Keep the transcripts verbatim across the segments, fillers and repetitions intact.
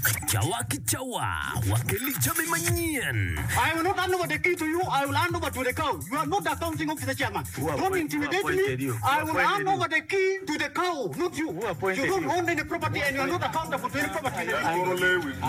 Cawa ki cawa wakeli jami manyen. I will not hand over the key to you, I will hand over to the cow. You are not the accounting officer chairman. Don't intimidate me. I will hand over the key to the cow, not you. You don't own any property and you are not accountable to any property in the district.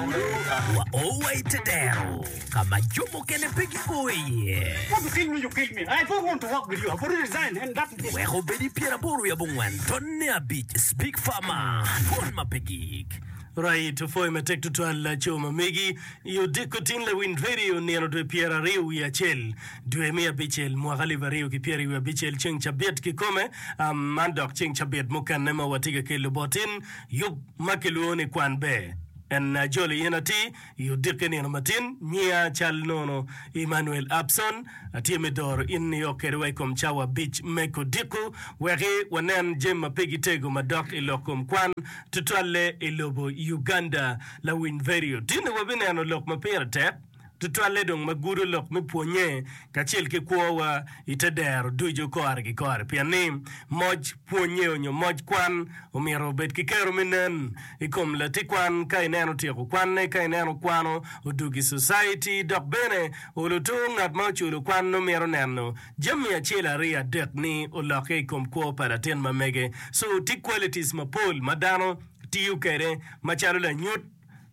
Wa o wa i te dero ka ma jo mukene pe gio iye. Want to kill me, you kill me. I don't want to work with you. I've already resigned and that is it. Wek obed i pyeraboro wiye abongwen tonne abic Speak Farmer, Dwon ma pe gik. Right, opwoyo matek tutwal laco ma megi i odiko tin lawiny radio nino dwe pyera aryo wiye acel dwe me abicel mwaka alip aryo ki pyeri wiye abicel ceng cabit kikome um, man dok ceng cabit mukene ma watye ka kelo bot in yub ma kilwongo ni kwan ber en ajolo in atir i odiki nino matin nyiya cal nono Emmanuel Abson atye me doro in nio kwede wa i kom cawa abic me kodiko weki wanen jami ma pe gitego madok i lok kom kwan tutwalle i lobo Uganda. Lawiny vedio tini wabineno lok ma pire tek tutwalle dong ma gudo lok me pwonye kacel ki kwowa i te dero ducu kore ki kore pien ni moc pwonye onyo moc kwan omyero obed ki kero me nen i kom lati kwan ka ineno tyeko kwanne ka ineno kwano odugi society dok bene oluto ngat ma oculo kwan nongo mito neno jami acel aryo adek ni olokke i kom kwo pa latin ma mege so tye qualities mapol ma dano tiyo kwede macalo lanyut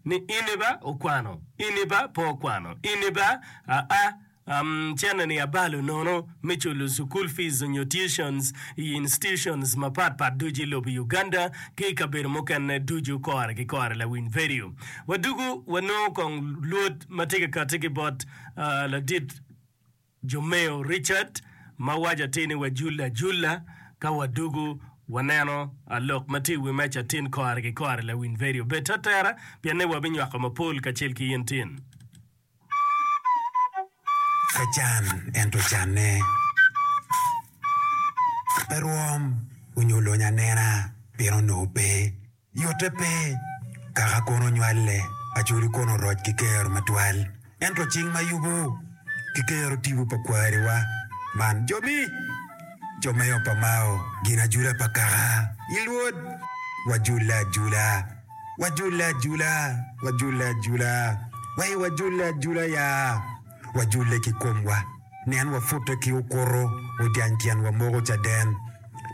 ni ini ba okwano ini ba pe okwano ini ba aa um, cene ni abalo nono me culo school fees onyo tuitions i institutions mapat pat ducu i lobo Uganda ki i kabedo mukene ducu kore ki kore lawiny vedio wadugu wanongo kong lwod ma tye ka kati ki bot uh, ladit Jomeo Richard ma waco atir ni wajulle ajulla ka wadugu waneno lok ma tye i wi meja tin kore ki kore lawiny vedio bed atera pien ni wabinywako mapol kacel ki in tin. Pe can ento canne. Pe rwom onyo lony anena pien onongo pe. Yotte pe, kaka kono onywale, Acholi kono oroc ki kero matwal. Ento cing ma yubo ki kero tipo pa kwariwa man jo mi, jo meo pa Mao, gin ajula pa kaka i lwod. Wajulle ajula, wajulle ajula, wajulle ajula, wai wajulle ajula ya, wajulle ki komwa. Nen wapute ki okuto, odyany tyenwa moko caden.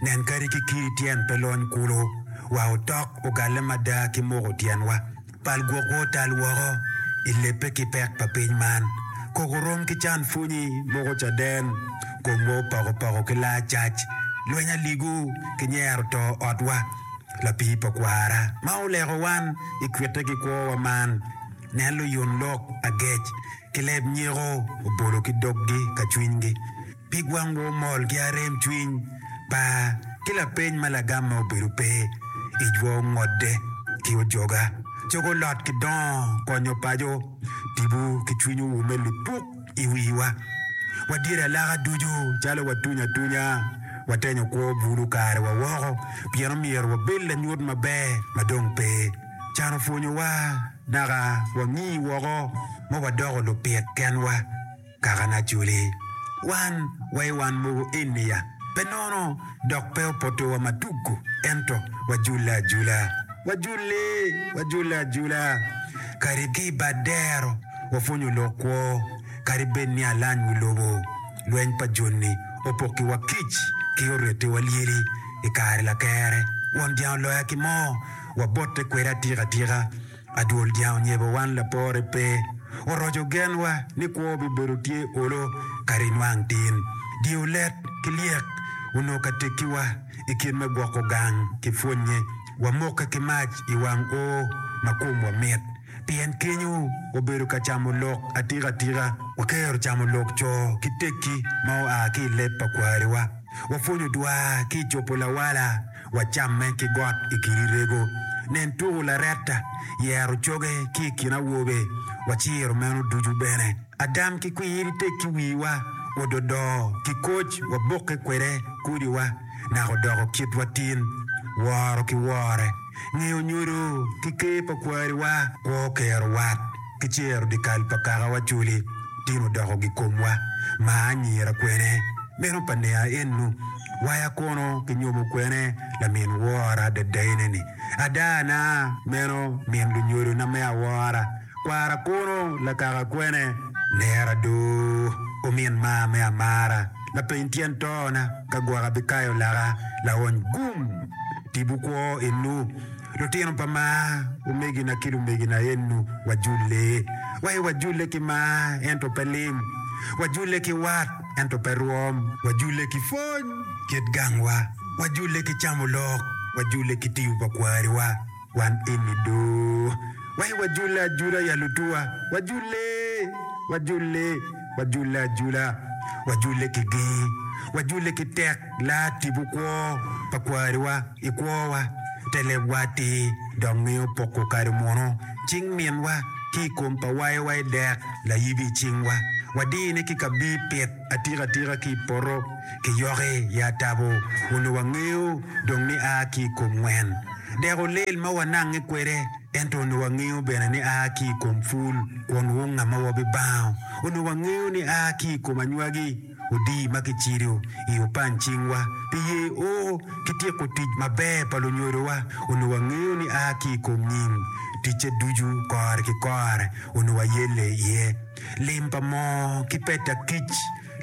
Nen kadi ki kidi tyen pe lony kulu, wa otok ogalle mada ki moko tyenwa. Pal gwokwa otal woko i lebbe ki pek pa piny man. Koko rom ki can pwonyi moko caden, komwa opoko poko ki laa cac. Lweny aligu ki nyero to otwa, lapii pa kwara ma oleko wan i kwitte ki kwowa man. Nen luyun lok agec ki leb nyeko obolo ki doggi ka cwinygi. Pig wangwa omol ki arem cwiny, par, ki lapeny ma lagamme obedo pe. Icwa ongodde ki ojoga, cogo olot ki dongo konyo paco, tipo ki cwiny owume lipuk i wiwa. Wadyere alaka ducu calo watuny atunya, watenyo kwo bulu karewa woko pien omyero wabed lanyut maber ma dong pe. Can opwonyowa naka wangi woko ma wadoko lupit kenwa. Kakana Acholi, wan wa i wan mogo eni ya, pe nono dok pe opotowa matuggu, ento wajulle ajula, wajulle, wajulle ajula. Kadi ki i bad dero wapwonyo lok kwo, kadi bed ni alany wi lobo, lweny pa joni opokiwa kic ki oretiwa lyeli i kare lakere. Won dyang oloya ki moo, wabotte kwede atika atika. Adwol dyang onyebo wan lapore pe. Oroco genwa ni kwo bibedo tye olo kadi inwang tin. Dye olet ki lyek onongo ka tekkiwa i kit me gwoko gang ki pwonnye. Wamokke ki mac i wang oo ma komwa mit pien kenyo wabedo ka camo lok atika atika. Wakero camo lok co ki tekki ma oa ki i leb pa kwariwa. Wapwonyo dwar ki i cobo lawala. Wacamme ki got i kidi rego. Nen tuku laretta, yero coge ki i kin awobe, waciro meno ducu bene. Adam ki kwiri tekki wiwa, ododo ki koc wabokke kwede kodiwa, naka odoko kitwa tin, woro ki wore, ngeyo nyodo ki ker pa kwariwa, kwo kero wat ki cero dyekal pa kakawa culi. Tin odoko gikomwa ma anyira kwene, meno pa nea ennu. Waya kono kinyomo kwene lamin wora dadaine-ni. Adana, meno min lunyodona me awora. Kwara kono lakaka kwene? Nera do, omin maa me amara. Lapeny tyen tona ka gwok abikayo laka laony gum. Tipo kwo enu. Lutino pa maa, omegina ki lumegina enu, wajulle. Wai wajulle ki mar, ento pe lim. Wajulle ki wat, ento pe rwom. Wajulle ki pwony, kit gangwa. Wajulle ki camo lok. Wajulle ki tiyo pa kwariwa. Wan eni do. Wai wajulle ajula ya lutuwa. Wajulle! Wajulle! Wajulle ajula. Wajulle ki ger. Wajulle ki tek laa tipo kwo pa kwariwa i kwowa. Te lebwa atir dok ngeyo poko kado munu cing minwa ki i kom pa wayowa i dek layibi i cingwa. Wadine ki kabir pit atika atika ki i poto ki yoki i atabo onongo wangeyo dong ni a ki i kom ngwen. Dek olel ma wanange kwede ento onongo wangeyo bene ni a ki i kom pul kun wunga ma wabibango. Onongo wangeyo ni a ki i kom anywagi odii ma kicido i opany cingwa pi ye o ki tyeko tic maber pa lunyodowa. Onongo wangeyo ni a ki i kom nying ticce ducu kore ki kore onongo wayelle iye. Lim pa moo ki peta kic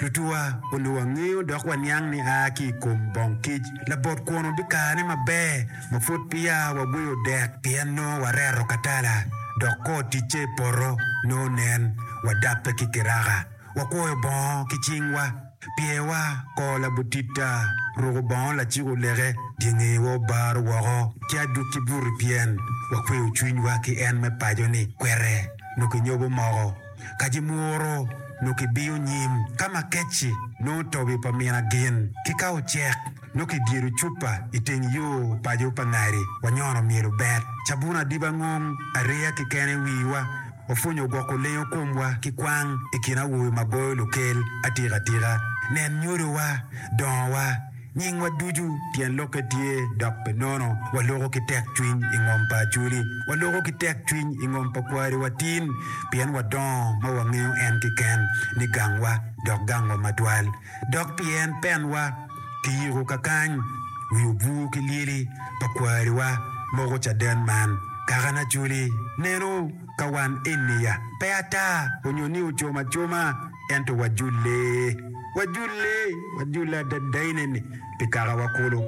lutuwa onongo wangeyo dok waniang ni a ki i kom bong kic. Labot kwon obikane maber ma pud peya wagweyo dek pien nongo wareto katala dok kor ticce i poto nongo nen wadabbe ki kiraka. Wakwoyo bongo ki cingwa, pyerwa kor labutita, ruko bongo lacik oleke, dye ngewa obaro woko ki adwogi buto pien wakweyo cwinywa ki en me paco-ni kwete nongo kinyobo moko, kaci mworo nongo kibiyo nyim, ka makec-ci nongo tobi pa min agin, ki ka ocek nongo kidyedo cupa i teng yo paco pa ngadi, wanyono myelo bet, cabun adiba ngom ariya keken i wiwa. Wapwonyo gwoko lengo komwa ki kwang i kin awobe ma goyo lukel atika atika. Nen nyodowa, dongowa, nyingwa ducu tyen lokke tye dok pe nono. Waloko ki tekcwiny i ngom pa Acholi. Waloko ki tekcwiny i ngom pa kwariwa tin pien wadongo ma wangeyo en keken ni gangwa dok gangwa matwal. Dok pien penwa kiyiko kakany wi obwur ki lyeli pa kwariwa moko caden man. Kakana Acholi neno ka wan eni ya, pe ata onyo ni ocom acoma, ento wajulle, wajulle, wajulle adadaine-ni pi kakawa kulu.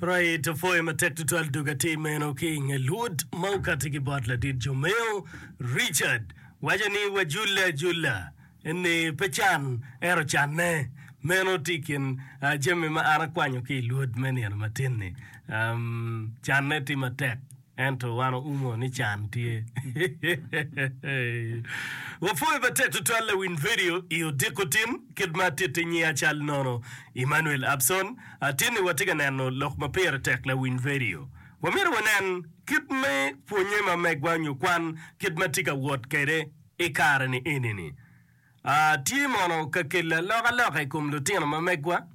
Right, opwoyo matek tutwal dug atir meno ki i nge lwod ma okati ki bot ladit Jomeo Richard waco ni wajulle ajula. Ni pe can, ento canne. Meno tye i kin jami ma an akwanyo ki i lwod me nino matin-ni. Canne tye matek, ento wan oumo ni can tye. Wapwoyo matek tutwal lawiny vedio i odiko tin, kit ma atitti nyinga cal nono Emmanuel Abson. Atinni watye ka neno lok ma pire tek lawiny vedio. Wamito wanen kit me pwonye ma megwa nyo kwan kit ma tye ka wot kwede I kare-ni eni-ni, tye mono ka kelo alokaloka i kom lutino ma megwa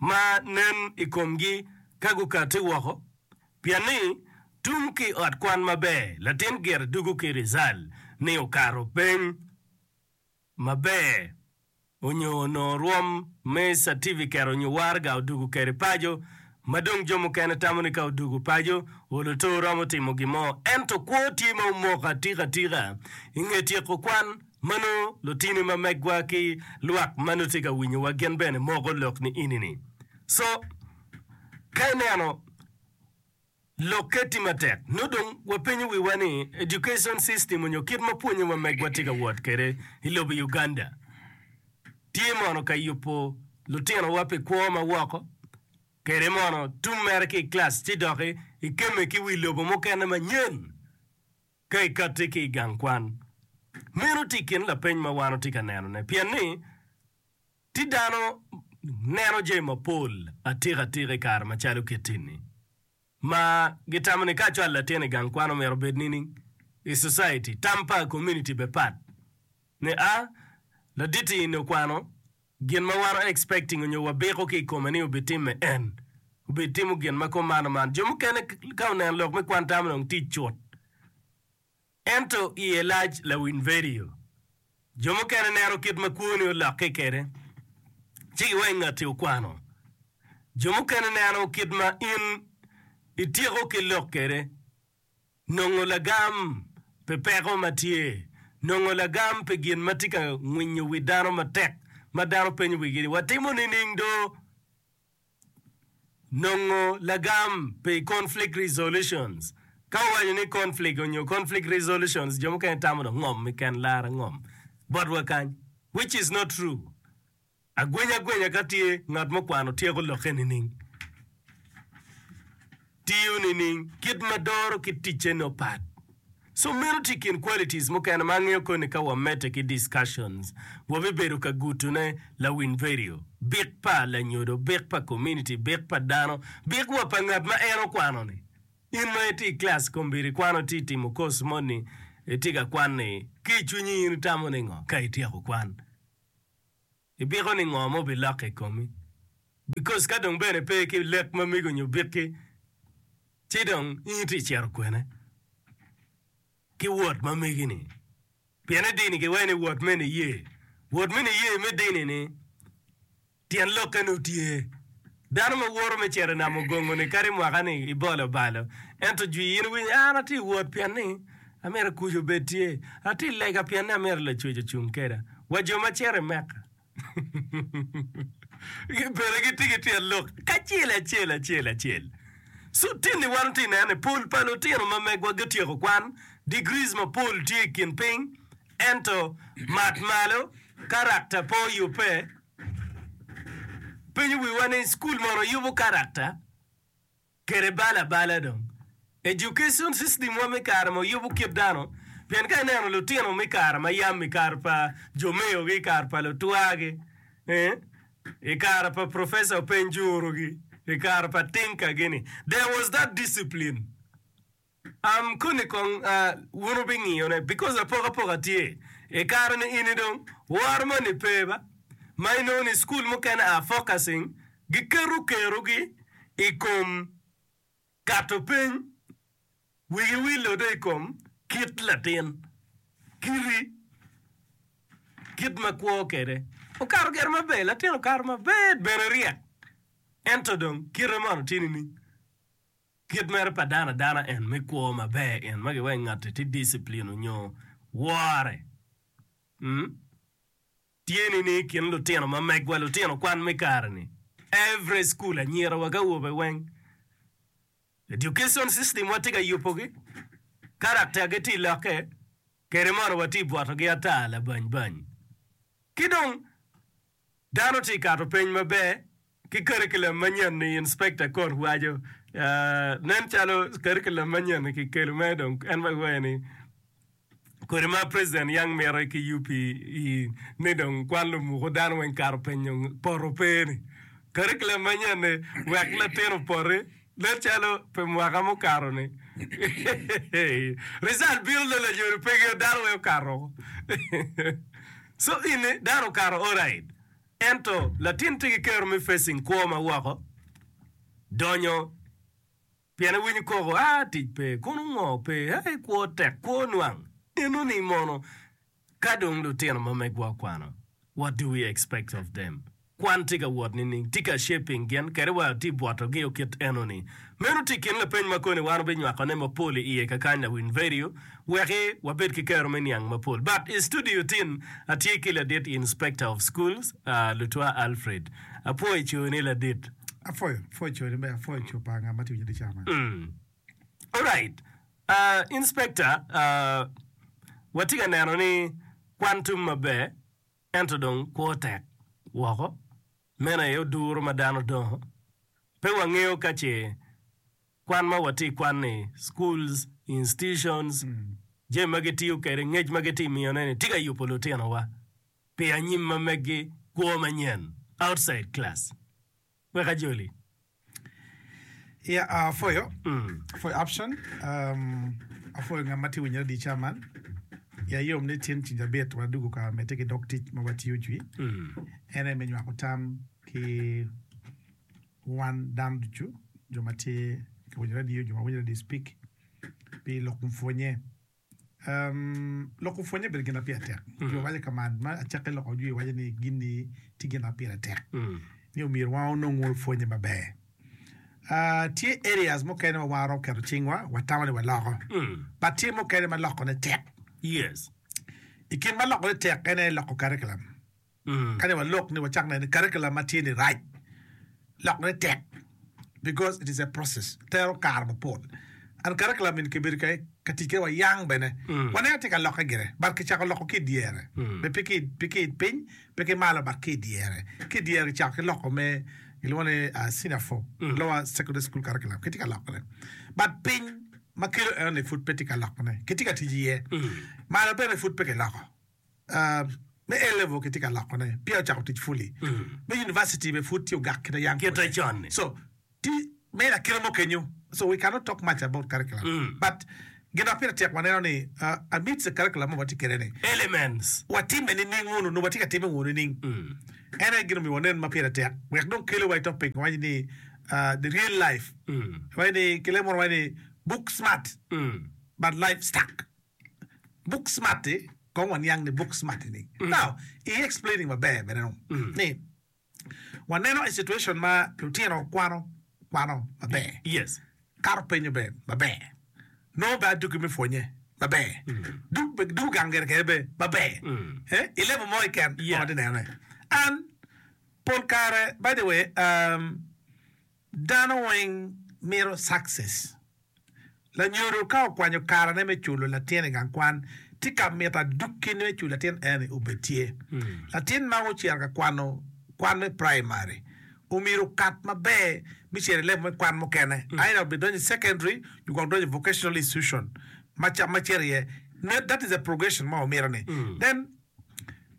ma nen i komgi ka gukatti woko? Pien ni, tung ki i ot kwan maber, latin gire dugo ki rizal ni okato peny maber. Onyo onongo rwom me catifiket onyo waraga odugo kede paco, ma dong jo mukene tamo ni ka odugo paco, olo to romo timo gin mo. Ento kwo tye ma omoko atika atika. I nge tyeko kwan, ma nongo lutini ma megwa ki lwak ma nongo tye ka winyowa gin bene moko lok ni ini-ni. So, ka ineno. Lokke tye matek. Nongo dong wapenyo wiwa ni education system onyo kit ma pwonye ma megwa tye ka wot kwede i lobo Uganda tye mono ka yubo lutinowa pi kwo ma woko kede mono tum mere ki i class ci doki ikemme ki wi lobo mukene manyen ka ikatti ki i gang kwan. Meno tye i kin lapeny ma wan watye ka nenone pien ni tye dano neno jami mapol atika atika i kare macalo kit-ti-ni ma gitamo ni ka acwalo latin i gang kwan omyero obed nining i society. Tam pa community bene pat ni a ladit-ti eni okwano gin ma wan expecting onyo wabiko ki i kome ni obitimme en obitimo gin ma kuman man. Jo mukene ka oneno lok me kwan tamo dong tic cut ento iye lac lawiny vedio. Jo mukene neno kit ma kwoni olokke kwede ci giwaco ngatti okwano. Jo mukene neno kit ma in ityeko ki lok kwede, nongo lagam pi peko ma tye, nongo lagam pi gin ma tye ka ngwinyo wi dano matek ma dano penyo wigi ni watimo nining do? Nongo lagam pi conflict resolutions. Ka owaco ni conflict onyo conflict resolutions jo mukene tamo dong ngom keken lara ngom botwa kany which is not true. Agwenya agwenya ka tye ngat mukwano tyeko lokke nining? Tiyo nining? Kit ma doro ki ticce nongo pat. So meno tye i kin qualities mukene ma angeyo koni ka wamedde ki discussions wabibedo ka gutune lawiny vedio, bik pa lanyodo, bik pa community, bik pa dano, bik wa pa ngat ma en okwano ni. In ma itye i class kombeddi ikwano itye timo course moni itye ka kwan ni ki i cwinyi in itamo ni ngo ka ityeko kwan? Ibiko ni ngo ma obilokke i komi? Because ka dong bene pe ki lek ma mego nyo bikki, ci dong in itye cito kwene ki wot ma megi ni? Pien i dini giwaco ni wot me niye, wot me niye me dini ni tyen lokke nongo tye. Dano ma woto me cito i nam ogongo ni kadi mwaka ni ibolo balo, ento jwi in iwinyo an atye wot pien ni amito kuc obed tye, atye lega pien ni amito Lacwec ocung keda. Wa jo ma cito i Mecca bene gitye ki tyen lok kacel acel acel acel. So tinni wan watye neno ni pol pa lutino ma megwa gutyeko kwan, degrees mapol tye i kin piny, ento mat malo karakta pe oyubbe. Penyo wiwa ni cukul mono yubo karakta kede balo abala dong. Education system wa me kare ma oyubo kit dano pien ka ineno lutino me kare ma yam i kare pa jo meo gi i kare pa lutwa gi eh i kare pa professor peny juru gi i kare pa tinka gi ni there was that discipline. Am koni kong wun wubingiyo ne because apokapoka tye i kare ni ini dong woro moni pe ba ma inongo ni school mukene are focusing giketo kerogi i kom kato peny wigi wilo do i kom kit latin kiti kit ma kwo kede okato gire maber latin okato maber bene ryek ento dong kite mono tye nining? Kit mere pa dano adana en me kwo maber en ma giweko ngatti tye discipline onyo wore tye ni ni kin lutino ma megwa lutino kwan me kare ni every school anyira wa ki awobe weng education system wa tye ka yubo gi character gi tye lokke kede mono wa tye bwoto gi ata labany bany ki dong Dano tye kato peny maber ki curriculum manyen ni inspector kot waco nen calo curriculum manyen ni kikelo mere dong en ma giwaco ni kodi ma president yang mito ki U P E ni dong kwan lumuku dano weng kato peny dong poto pe ni curriculum manyen ni wek latin opoti nen calo pi mwaka mukato ni result bino dong lanyodo peke dano weng okato So ini dano okato alright ento latin tye ki kero me facing kwo ma woko donyo pien ewinyo koko aa tic pe kono ngo pe ee kwo tek kwo nwang eno ni mono ka dong lutino ma megwa okwano what do we expect of them Kwan tye ka wot nining? Tye ka shaping gin kadi wa tye bwoto gi okit eno ni. Meno tye kin lapeny ma koni wan wabinywako ne mapol i iye kakany lawiny vedio weki wabed ki kero me niang mapol. But i studio tin atye ki ladit inspector of schools Lutwa Alfred. Apwoyo coo ni ladit. Apwoyo, apwoyo coo ni ber, apwoyo coo pa nga ma tye winyo di cawa man. Alright, inspector watye ka neno ni kwan tum maber. Ento dong kwo tek woko. Meno aye oduro ma dano dongo. Pe wangeyo ka ce kwan ma watye i kwan-ni, schools, institutions, jami ma gitiyo kwede, ngec ma gitye ka miyone-ni tye ka yubo lutinowa pi anyim ma meggi, kwo manyen, outside class. Wek ajoli. Yeah, apwoyo, apwoyo option, um, apwoyo ngat ma tye winyo radio ca man. Ya yom ni tin ceng cabit wadwogo ka medde ki dog tic ma watiyo jwi. En aye me nywako tam ki wan dano ducu, jo ma tye ka winyo radio, jo ma winyo radio speak pi lok kom pwonye. Um, loko pwonye obedo gin ma pire tek. Jo waco ka man, ma acakke loko jwi waco ni gin-ni tye gin ma pire tek. Ni omyero wan onong pwonye maber. Uh, tye areas mukene ma wan waromo keto cingwa, watamo ni waloko. But tye mukene ma lokone tek. Yes. I kin ma lokone tek en aye loko curriculum. Kadi walok ni wacak neno ni curriculum ma tye ni rac, lokone tek because it is a process, tero kare mapol. And curriculum ni kibedo ka, ka tic kwede wayang bene. Waneno tye ka lokke gire, but kicako loko ki i dyere. Be pe ki, pe ki i piny, pe ki malo, but ki i dyere. Ki i dyere kicako ki loko me gilwongo ni uh, senior four, lower secondary school curriculum, kitye ka lokone. But piny ma kelo eno ni pud pe tye ka lokone, kitye ka tic iye. Malo bene pud pe kiloko. Uh, me A level kitye ka lokone, peya ocako tic fully. Me university be pud tye ogak kite yang Kite con-ni. So, ti me lakite mo kenyo. So we cannot talk much about curriculum. But gin ma pire tek waneno ni uh, amidst the curriculum ma watye kwede ni, Elements. watime nining wunu, nongo watye ka time wunu nining. En aye gin omiyo wanen ma pire tek. Wek dong kelo wa i topic waco ni uh, the real life. Waco ni kile mono waco ni book smart but life stuck. Book smart-ti, kong waniang ni book smart ni. Now, i explaining maber bene dong ni waneno i situation ma lutino kwano kwano maber. Yes. Kato penyo be maber. Nongo be aduki me pwonye maber. Duk be duk gang gire kede be maber. Eh, i level mo keken Yeah. ma watye nenone. And pol kare, by the way, um, dano weng mito success. Lanyodo ka okwanyo karene me culo latin i gang kwan, tye ka mito aduki me culo latin eni obed tye. Latin ma ocito ka kwano kwan me primary, omyero okat maber me cito i level me kwan mukene. Either obed donyo i secondary, nyo gwok donyo i vocational institution ma ca ma cito iye. That is a progression ma wamito ni. Then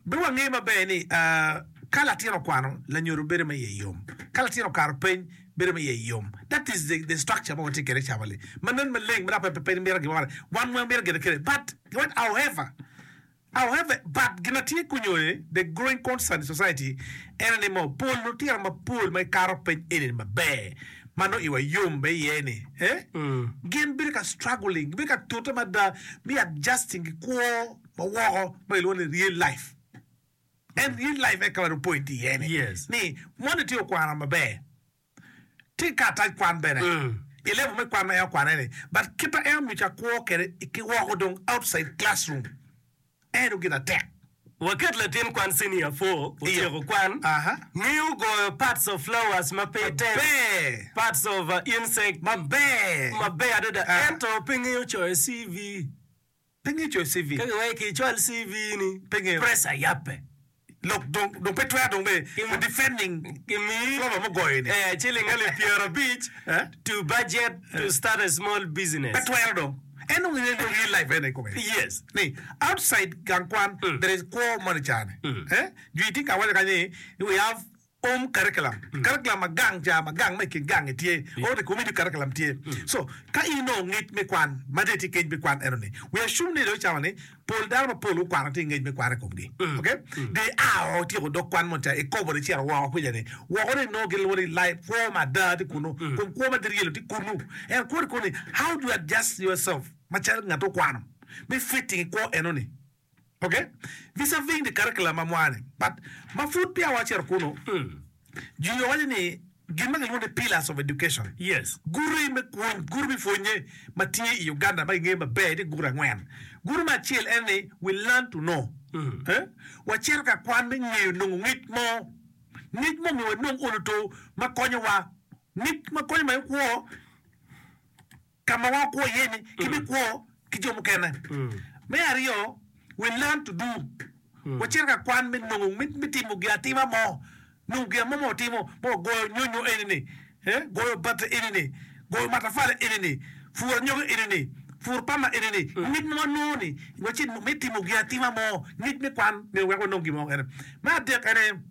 be wange maber ni uh, ka latin okwano, lanyodo bedo ma iye yom. Ka latin okato piny, bedo ma iye yom. That is the, the structure ma watye kwede cabali. Ma nen maleng, ma dok pe pe mito gin mo. Wan weng mito gine kede. But, what, however, however, but gin ma tye kunyo ni, the growing concern in society, en ni mo, pol lutino mapol ma gikato piny eni maber, ma nongo iwa yom be iye ni, eh? Gin bedo ka struggling, bedo ka tute mada me adjusting ki kwo ma woko ma gilwongo ni real life. En real life e ka ma dong point iye ni. Yes. Ni moni tye okwano maber. Tye ka atac kwan bene. I level me kwan ma en okwane ni. But kit ma en omiyo ca kwo kwede ki woko dong outside classroom. En dong gin atek. Waket latin kwan senior four, otyeko kwan, Aha. ngeyo goyo parts of flowers ma pe tek, Maber. parts of uh, insect Maber. maber adada, Ah. ento pe ngeyo coyo C V. Pe ngeyo coyo C V. Ka giweko icwal C V ni, Pe ngeyo. pressure yappe. Lok dong dong pe twero dong be defending Kimi flower mugoyo ni. eh, ciling alip pyerabic Eh? to budget to start a small business. Pe twero dong. En dong en dong real life ene kome. Yes. Ni outside gang kwan there is kwo moni cane. Eh? Jwi tye ka waco kany ni we have home curriculum. Curriculum ma gang ca ma gang ma i kin gang tye. Or the community curriculum tye. So ka in inongo ngec me kwan ma dong itye kec me kwan eno ni. We assume ni dong cawa ni pol dano mapol gukwano tye ngec me kwan i komgi. Okay? They are otyeko dog kwan mo ca ikobo ni cito woko kwica ni. Woko ni nongo gin lwongo ni life kwo ma ada tye kunu. Kom kwo ma tye real tye kunu. En kwo tye kunu ni how do you adjust yourself macalo ngat okwano me fitting i kwo eno ni. Okay? Vis-a-vis the curriculum ma mwane. But ma pud peya wacito kunu, jwi owaco ni gin ma gilwongo ni pillars of education. Yes. Guri me pwony, guri me pwonye ma tye i Uganda ma gingeyo maber tye guri angwen. Guri me acel en ni we learn to know. Eh? Wacito ka kwan me ngeyo nongo ngec mo. Ngec mo myero wanong olo to ma konyowa. Ngec ma konyo ma kwo ka ma wan wakwo iye ni ki me kwo ki jo mukene. Me aryo, we learn to do. Wacito ka kwan me nongo me, me timo gin atima mo. Nongo gin mo ma watimo, ma wagoyo nyonyo eni ni, eh? Goyo bati eni ni, goyo matafali eni ni, puro anyogi eni ni, puro pama eni ni. Ngec ma wanongo ni, wacit me timo gin atima mo, ngec me kwan myero wek wanong gin mo ene. Me adek ene,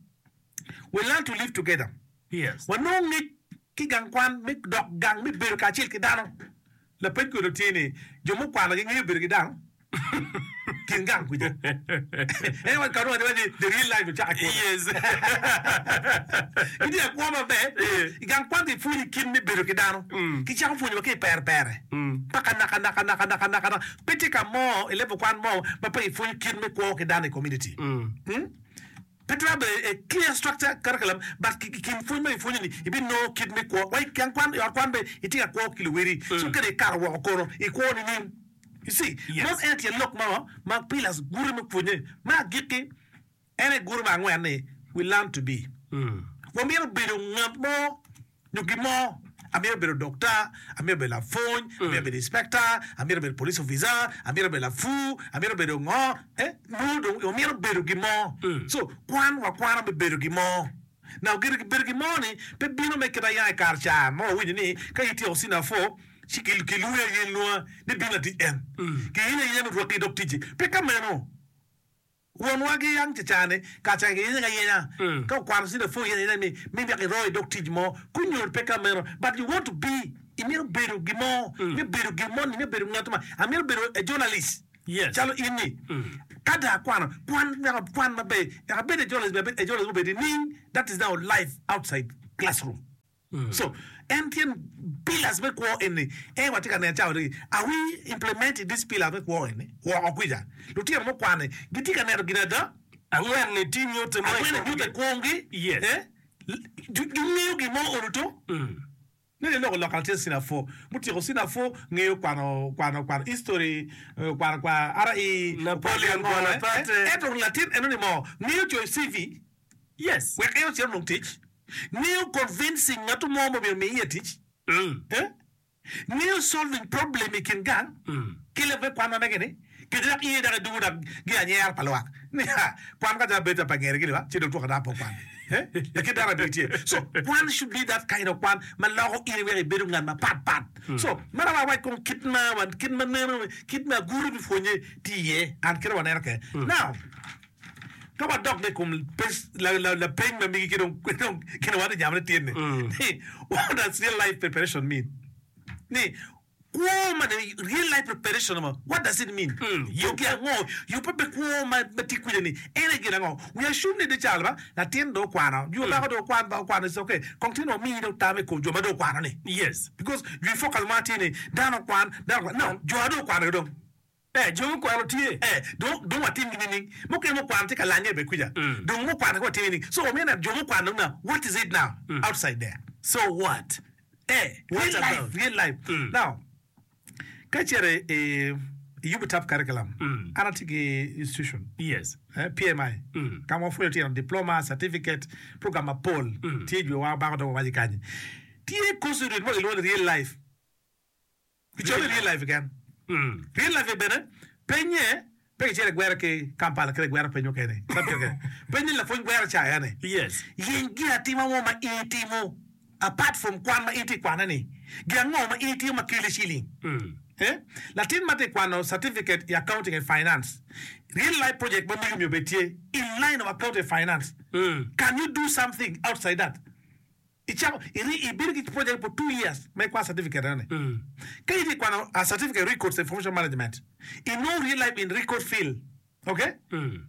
we learn to live together. Yes. Wanongo ngec ki gang kwan me dok gang me bedo kacel ki dano. Lapeny kono tye ni, jo mukwano gingeyo bedo ki dano? kin gang kuja. En wa kanu wa ni the real life ocako kwo. Yes. Gitye ka kwo maber. I gang kwan kipwonyo kit me bedo ki dano. Kicako pwonyo wa ki i pere pere. Paka naka naka naka naka naka naka. Pe tye ka mo i level kwan mo ma pe kipwonyo kit me kwo ki dano i community. Mm? Pe twero bedo a clear structure curriculum but ki kin pwony ma kipwonyo ni ibinongo kit me kwo. Wa i gang kwan i ot kwan bene itye ka kwo ki luwedi. So kadi ikato woko kono ikwo nining? You see, Yes. man en tyen lok mo ma pillars gure me pwonye. Me agikki en aye gure me angwen ni we learn to be. Wamito bedo ngat mo nyo gin mo. Amito bedo dokta, amito bedo lapwony, amito bedo inspector, amito bedo police officer, amito bedo lapur, amito bedo ngo. Eh, nongo dong wamito bedo gin mo. So, kwan wakwano me bedo gin mo. Now, gire bedo gin mo ni pe bino me kit aya i kare ca ma wawinyo ni ka ityeko senior four, ci ki- kilwongi aye lwonga ni bin latic en. Kiyenyo ayenya me rwaki i dog ticci. Pe ka meno. Wonwa ki yang cacane kaca kiyenyo ayenya ka okwano senior four yenyo ayenya ni mi wek iro i dog tic mo kunyo pe ka meno but you want to be imito bedo gin mo imito bedo gin mo ni imito bedo ngat ma amito bedo a journalist Yes. calo in ni ka dong akwano kwan wek akwan maber wek abed a journalist abed a journalist mubedo nining that is now life outside classroom so en tye pillars me kwo eni en watye ka neno cawa ni are we implementing this pillars me kwo eni woko kwica lutino mukwano gitye ka neno gin ada Angwen ni tye nyute mo i angwen komgi. nyute kwogi Yes. eh gingeyo gin mo olo to nene loko loko latin senior four mutyeko senior four ngeyo kwano kwano kwano history eh, kwano kwa R E Napoleon kwano ngo, eh, Bonaparte. eh, ento latin eno ni mo ngeyo coyo C V Yes. wek en ocit onong tic ngeyo convincing ngatu mo mo myero omiye tic Mm. eh? ngeyo solving problem i kin gang ki leb me kwan ma mege ni kede dok iye dok idungo dok gi anyera pa lwak ni ha kwan ka ca bedo pa ngere gini ba ci dong twoko dano pe okwan eh lakit dano abic tye so kwan should be that kind of kwan ma loko in wek ibedo ngat ma pat pat so mana wa wac kong kit ma wan kit ma neno kit ma aguru mi pwonye tye iye an kit ma waneno ke now ka wadok i kom pes- la- la- lapeny ma migi ki dong ki dong kine wan nyamo ni tye ni ni what does real life preparation mean ni kwo ma ni real life preparation ma what does it mean yugi ango yubbe pe kwo ma ma tye kwija ni en aye gin ango we assume ni di cal ba latin dong okwano jo bako dong okwan ba okwano is okay kong tin wamiyi dong tam i kom jo ma dong okwano ni Yes. because you focus ma tye ni dano okwan dano okwan no jo a dong okwano dong Eh, jo mukwano tye. Eh, dong dong watim gi nining mukene mukwano tye ka lanye be kwija dong mukwano ka watim nining so wamito neno jo mukwano dong now what is it now outside there So what? eh What real about? life real life now ka icito i i yubo top curriculum an atye ki institution Yes. eh, P M I ka ma wapwonyo tino diploma certificate program mapol tye jwe wa bako dong wawaco kanyi tye course mo kilwongo ni real life kicoyo ni real life keken Mm. real life bene penye pe kicito i gwero ki Kampala kede gwero peny mukene Subject kene. Penye lapwony gwero ca ene Yes. yeny gin atima mo ma in itimo apart from kwan ma in itye i kwane ni gin ango ma in itimo ma keli ciling Mm. Eh? Latin ma tye kwano certificate i accounting and finance real life project ma megi myero bed tye in line of accounting and finance Mm. can you do something outside that icako iri ibedo ki project for two years ma ikwan certificate ene Mm. ka itye kwano a certificate records information management inongo real life in record field okay Mm.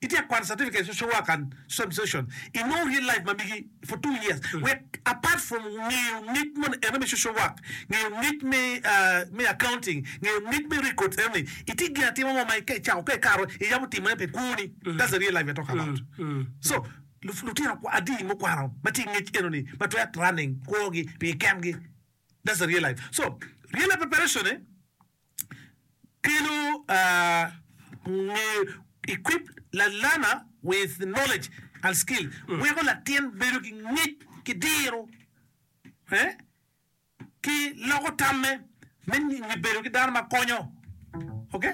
itye kwano certificate social work and social administration inongo real life ma migi for two years wek apart from ngeyo ngec mo eno me social work ngeyo ngec me uh, me accounting ngeyo ngec me records eno ni itye gin atima mo ma ka icako ka ikaro iyabo timone pi kwoni that's the real life we're talking about Mm. so lu- lutino kwa- adi mukwano ma tye ki ngec eno ni ma twero running kwogi pi kengi that's the real life so real life preparation eh, kelo uh, ngeyo equip la learner with knowledge and skill weko latin bedo ki ngec ki diro eh? ki loko tamme me ni bedo ki dano ma konyo okay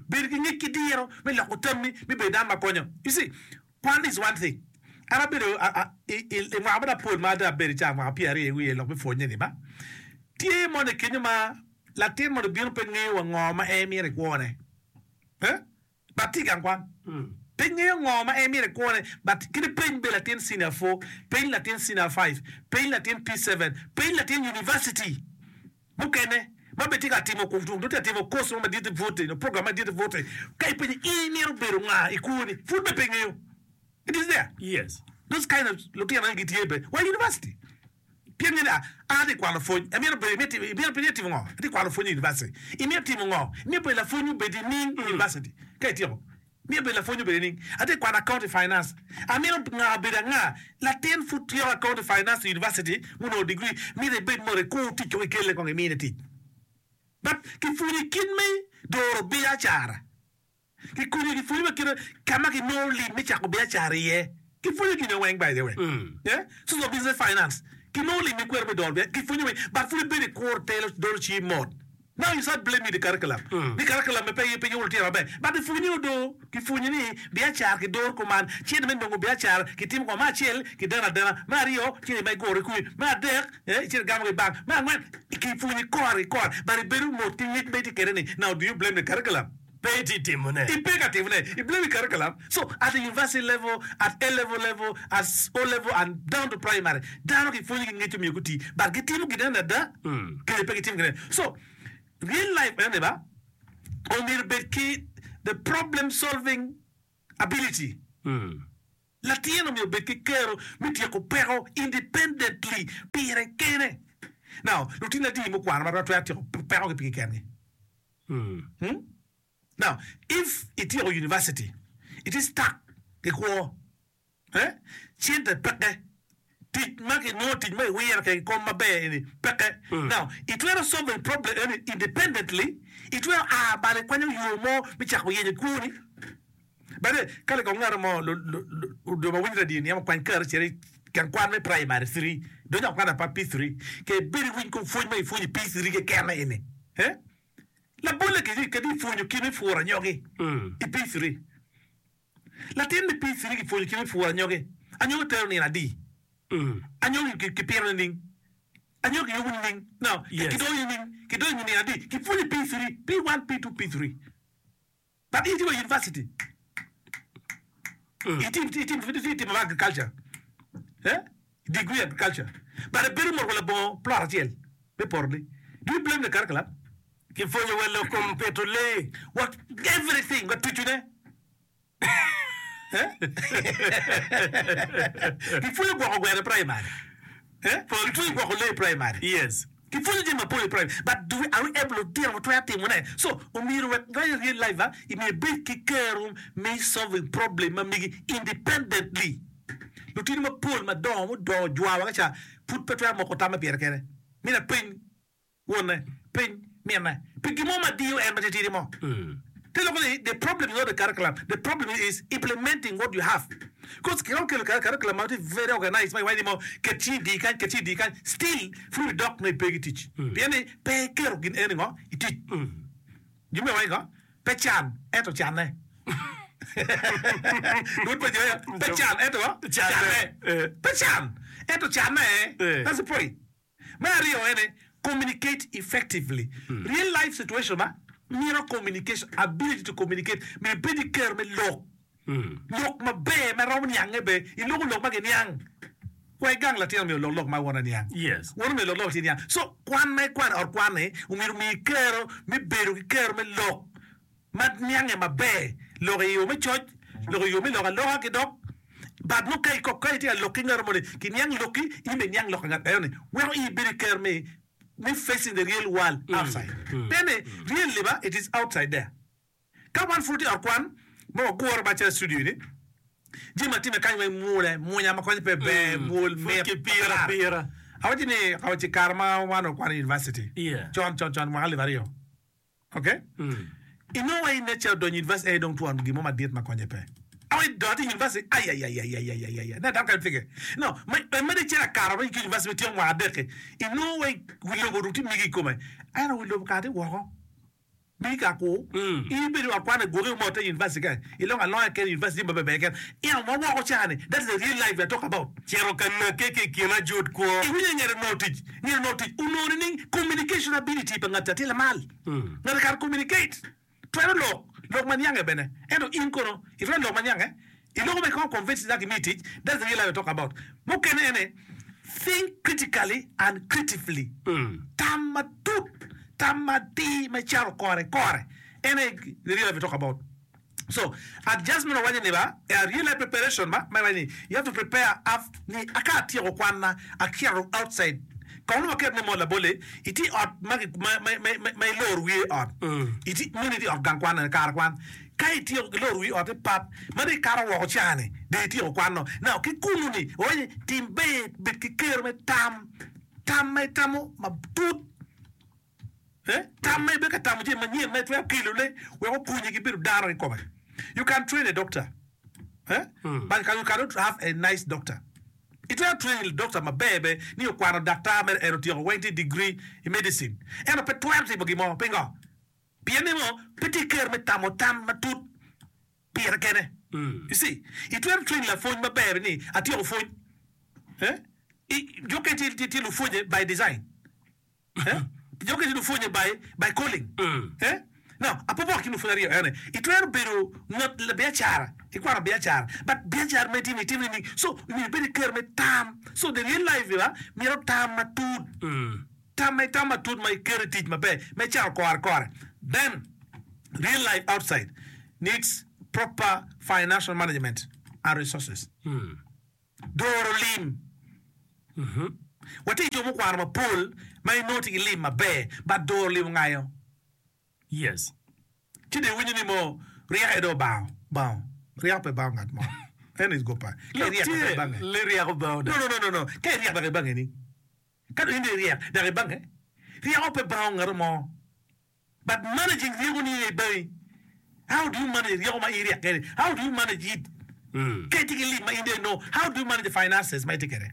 bedo ki ngec ki diro me loko tammi me bedo dano ma konyo you see kwan is one thing an abedo a- a- i i- i mwaka ma apol ma ada abedo ca mwaka pyero aryo i wiye lok me pwonye ni ba tye mono i kenyo ma latin mono bino pe ngeyo wa ngo ma en myero i kwone eh? but tye i gang kwan pe ngeyo ngo ma en myero i kwone but kadi peny be latin senior four peny latin senior five peny latin P seven peny latin university mukene Ma bene tye ka timo nongo tye ka timo course mo madit i bute nyo program madit i bute ka ipenyo in imito bedo nga i kwoni pud bene pe ingeyo. It is there. Yes. Those kind of lutino eni gitye bene wa i university. Pien nge ni an atye ka kwano pwony amito bedo imito imito timo ngo? Atye ka kwano pwony i university. Imito timo ngo? Imito bedo lapwony obedo nining i university ka ityeko? Myero bed lapwony obedo nining? Atye ka kwano accounting finance. Amito nga bedo anga? Latin pud tyeko accounting finance i university munongo degree mito ibed mot ikur tic kong ikelle kong imine tic. But kipwonyo kit me doro biacara. Kikonyo kipwonyo wa kite ka ma kinongo lim me cako biacara iye. Kipwonyo gin weng by the way. Yeah? Source of business finance. Kinongo lim me kwero me doro biacara. Kipwonyo weng but pud ibedo ikur telo doro cii mot. Now you start blaming the curriculum ni curriculum me pe pe yubo lutino maber but ipwonye odo kipwonye ni biacara kidoro kuman cente me nongo biacara kitimo kuma me acel kideno adena me aryo cente ma iguro ki me adek eh icito igamo ki i bank me angwen kipwonye kore ki kore but ibedo mot ki ngec ma itye kwede ni now do you blame the curriculum? Pe itye timone. Ipe ka timone. I blame the curriculum. So at the university level, at A level level, at O level and down to primary, dano kipwonyo ki ngec omyero guti but gitimo gin eni ada kadi pe gitimo gin eni. So real life eni ba omyero obed ki the problem solving ability. Latin omyero obed ki kero me tyeko peko independently pire kene. Now lutino adi mukwano ma twero tyeko pekogi pigi kengi? Hmm? Now, if ityeko university, itye stuck ki kwo, eh? Cente peke, tic ma kinongo tic ma iwiro kwede ki kom maber eni peke. Now, itwero solving problem eni independently, itwero a malo ikwanyo yo mo me cako yenyo kwoni. By the way, ka likong ngat mo jo ma winyo radio ni ema kwany kare cito i gang kwan me primary three, donyo i kwan apa P three, ke ibed iwiny kong pwony ma ipwonyo i P three keken eni. Eh? Labolle kadi ipwonyo kit me puro anyogi i P three. Latin me P three kipwonyo kit me puro anyogi. Anyogi tero nino adi? Anyogi kipito nining? Anyogi kiyubo nining? No, kidoyo nining? Kidoyo nino adi? Kipwonyo i P three, P one, P two, P three. But in itye wa i university. Itye itimo agriculture. Eh? Degree agriculture. But ibedo mot wa labongo plot acel me poto-ni. Do you blame the curriculum? Kipwonyo wa lok kom pito lee. Wa everything wa tucune. Eh? Kipwonyo gwoko gweno i primary. Eh? Kipwonyo gwoko lee i primary. Yes. Kipwonyo jami mapol i primary. But do we, are we able lutino watwero timone? So, omyero wek i real life a, myero ibed ki kero me solving problem ma megi independently. Lutino mapol madongo mudongo jwawa ka ca pud pe twero moko tamme pire kene. Mito apeny wonne, peny minne pi gin mo ma diyo en matitidi mo. Te loko ni the problem is not the curriculum, the problem is implementing what you have. Cause kiromo kelo curriculum ma tye very organized ma iwaco ni mo ket cingi i dii kany, ket cingi i dii kany, still pud ibidok nongo ipe ki tic. Pien ni pe iketo gin eni ngo i tic. Jo me waco ngo? Pe can ento canne. Lwod pa Jehovah pe can ento canne. Pe can ento canne. That's the point. Me aryo ene, communicate effectively. Real life situation ma mito communication, ability to communicate, myero ibed ki kero me lok. Lok maber ma romo niange be, iloko lok ma giniang. Wa igang latin myero olok lok ma won aniang. Yes. Won myero olok lok ma tye niang. So kwan ma ikwano i ot kwan-ni omyero omiyi kero me bedo ki kero me lok ma niange maber, lok i yo me coc, lok i yo me lok aloka ki dok but nongo ka iko ka itye ka lok ki ngat moni kiniang lokki in bene iniang lok pa ngat enoni weko in ibedo ki kero me me facing the real world outside. Pien ni really ba it is outside there. Ka wan pud watye i ot kwan ma wagure macalo i studio ni, jami ma timme kany weng mwole, munya ma konye pe ber, mwol, Pud mit, kipiro matar. apira. Awaco ni awaco i kare ma wan wakwano i university, Yeah. con con con mwaka alip aryo, ok? Inongo wa i nature odonyo i university aye dong twon gin mo madit ma konye pe. Awaco idonyo i university, ayayayayayayaya, ne dano kany pige. No, ma imedde icito akato ki i university me tyeko mwaka adek-ki, inongo wa i wi lobo dong tye migi i kome. Ento wi lobo kare tye woko. Migi ka kur, in ibedo i ot kwan igwoki omote i university kany, ilongo alonga keken i university jami maber ber keken. Ento ma woko ca-ni, that is the real life we are talking about. Cito ka nakke ki i kin ajut kwo. Iwinyo ni ngat onongo tic, ngat onongo tic onongo nining? Communication ability pa ngat ca tye lamal. Ngat kare communicate, twero lok, lok ma niange bene. Ento in kono, itwero lok ma niange? Iloko ma ikongo convince dako imi tic, that's the real life we talk about. Mukene ene, think critically and creatively. Tam matut, Tam matir me caro kore kore en aye the real life we talk about. So adjustment owaco ni ba a real life preparation ba ma iwaco ni you have to prepare af ni ka atyeko kwanna acito outside kong nongo waket ni mo labolle itye i ot ma ma iloro wiye i ot itye meno itye i ot gang kwan eni kare kwan ka ityeko iloro wi ot-ti pap ma dong ikato woko cani dong ityeko kwano now ki kunu ni wawaco ni tim ber bed ki kero me tam tam ma itamo matut. Tam ma ibedo ka tamo jami manyen ma itwero kelone wek okonyi ki bedo dano kikome. You can train a doctor, but you cannot have a nice doctor. Itwero train doctor maber be ni okwano daktar mere en otyeko weng tye degree i medicine ento pe twero timo gin mo. Pingo? Pien ni ngo? Pe tye ki kero me tamo tam matut pire kene. You see, itwero train lapwony maber ni atyeko pwony. Jo mukene tye lupwonye by design. Jo mukene tye lupwonye by by calling. Now, apopoko kin lupwony aryo ene. Itwero bedo ngat labiacara, ikwano biacara, but biacara ma itimo itimo nining? So, myero ibed ki kero me tam. So, the real life ba mito tam matut. Tam ma itamo matut ma iketo i tic maber, ma icako kore kore. Then, real life outside needs proper financial management and resources. Doro lim. Watye ki jo mukwano mapol ma inongo tye ki lim maber but doro lim ongayo. Yes. Ci dong iwinyo ni mo ryeko aye dong obango. Bango. Ryeko pe bango ngat mo. Eno is gopa. Ka Lok iryek dok tye ibange. li ryeko bango No, dok. no, no, no, no. Ka iryek dok ibange ni. Ka dong in dong iryek dok ibange. Ryeko pe bango ngat mo. But managing ryeko ni aye bangi. How do you manage ryeko ma in iryek kwede? How do you manage it? Ka itye ki lim ma in dong inongo, how do you manage the finances ma itye kwede?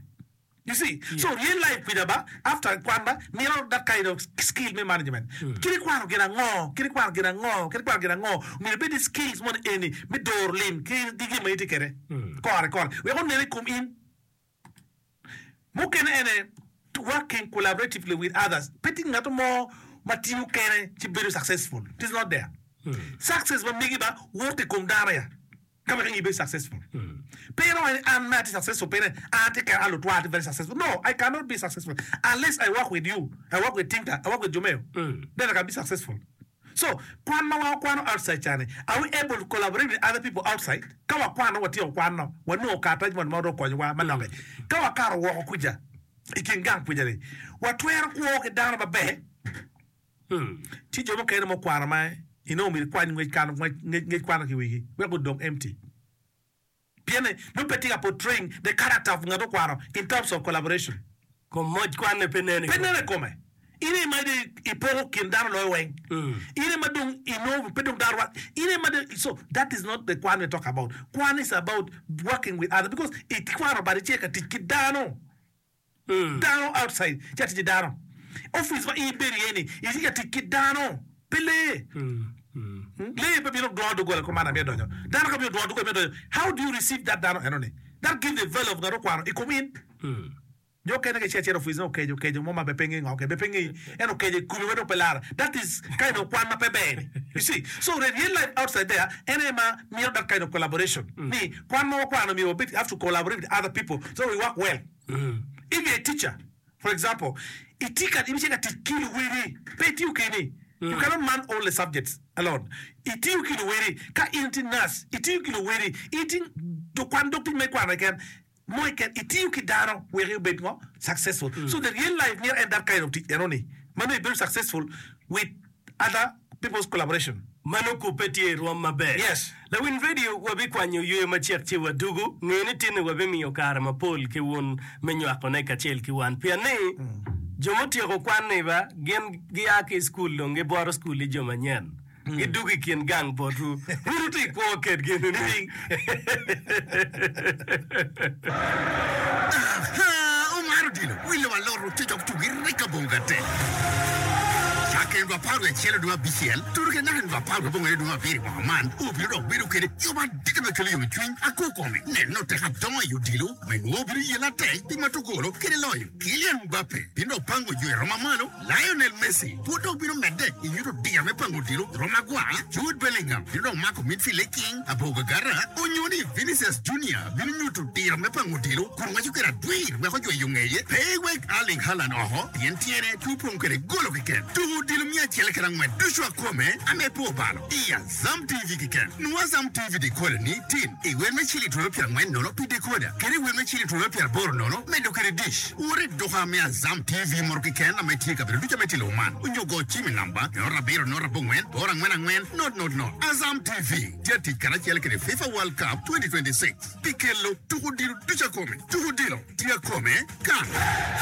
You see? So real life kwija ba, after kwan ba, mito that kind of skill me management. Kit ikwano gin ango? Kit ikwano gin ango? Kit ikwano gin ango? Myero ibed ki skills moni eni me doro lim ki gin ma itye kwede kore kore wek onen i kom in. Mukene ene working collaboratively with others. Pe tye ngat mo ma tiyo kene ci bedo successful. It is not there. Success ma megi ba wok i kom dano ya ka wek in ibed successful. Pe iromo ni an me atye successful pien an atye kene an lutwa atye very successful. No, I cannot be successful unless I work with you, I work with Tinka, I work with Jomeo. Then I can be successful. So, kwan ma wan wakwano outside ca-ni, are we able to collaborate with other people outside? Ka wakwano, watyeko kwano, wanongo karatac moni ma romo konyowa manok-ki. Ka wakato woko kuca i kin gang kuca-ni, watwero kwo ki dano maber? Ci jo mukene mukwano ma inongo myero ikwany ngec kano ngec kwano ki i wigi wek gudong empty. Pienni nongo pe tye ka portraying the character of ngat okwano in terms of collaboration. Kom moc kwanne pe nen i Pe kome. nen i kome. In aye ma dong ipoko kin dano loyo weng. In aye ma dong inongo pe dong dano rwak. In aye ma dong so that is not the kwan we talk about. Kwan is about working with others because ikwano but itye ka tic ki dano. Dano outside tye ka tic ki dano. Office ma in ibedo iye ni itye ka tic ki dano pe lee. Lee pe bino dwongo doggola kuman amito donyo. Dano ka bino dwongo doggola mito donyo how do you receive that dano eno ni? That give the value of ngat okwano i kom in. Jo okene ka icito acita office nongo okeco keco mo ma bene pe nge ngo kede pe ngeyi ento okeco i komi ma dong pe lara that is kind of kwan ma pe ber ni you see. So the real life outside there en aye ma mito that kind of collaboration ni kwan ma wakwano myero wabed have to collaborate with other people so we work well. If you're a teacher for example itye ka ibicito ka tic ki luwedi pe itiyo keni you cannot man all the subjects alone itiyo ki luwedi ka in itye nurse itiyo ki luwedi in itye kwan dog tic ma ikwano keken mo keken itiyo ki dano wek obed ngo successful so the real life myero en that kind of tic eno ni ma nongo ibedo successful with other people's collaboration. Mano kubbe tye i rwom maber. Yes. Lawiny radio, wabikwanyo yweyo macek ci wadugu. Nge ni tinni wabimiyo kare mapol ki wun me nywakone kacel ki wan. Pien ni, jo mutyeko kwan-ni ba, gin gia ki i cukul dong gibwoto cukul i jo manyen. Gidugo i kin gang botwu. Wun wutye i kwo kedgi nining? Aha! Omaro odilo, wilo alot ococo tugi rika bongo gate. Cakke nino apar wiye acel dwe abicel tuto ki naka nino apar wiye abongwen dwe abiro i mwaka man, obino dok bedo kede yub adita me kelo yomcwiny ako kome. Neno tek adongo i odilo ma inongo obino yelo atek pi mato golo kede loyo. Kylian Mbappe bino dok pango jo i roma malo. Lionel Messi pud dok bino medde i nyuto diro me pango odilo i rom agwar, Jude Bellingham bino dok mako midfield i king abor gagara, onyo ni Vinicius Junior bino nyuto diro me pango odilo kun waco kwede adwir wek ojwe yo ngeye. Pe iwek Erling Haaland oko pien tyene tye opong kwede golo keken. Tuko odilo miya acel kede angwen ducu akome ame pe obalo i Azam T V keken. Nwo Azam T V decoder ni tin i wel me ciling twero pyera angwen nono pi decoder kede i wel me ciling twero pyera aboro nono medo kede dish. Wot i duka me Azam T V moro keken ame tye i kabedo ducu ame tye i lobo man onyo go cim i namba nono abiro nono abongwen aboro angwen angwen not not not. Azam T V tye atic karacel kede FIFA World Cup twenty twenty-six pi kelo tuko odilo ducu akome. Tuko odilo tye akome kan.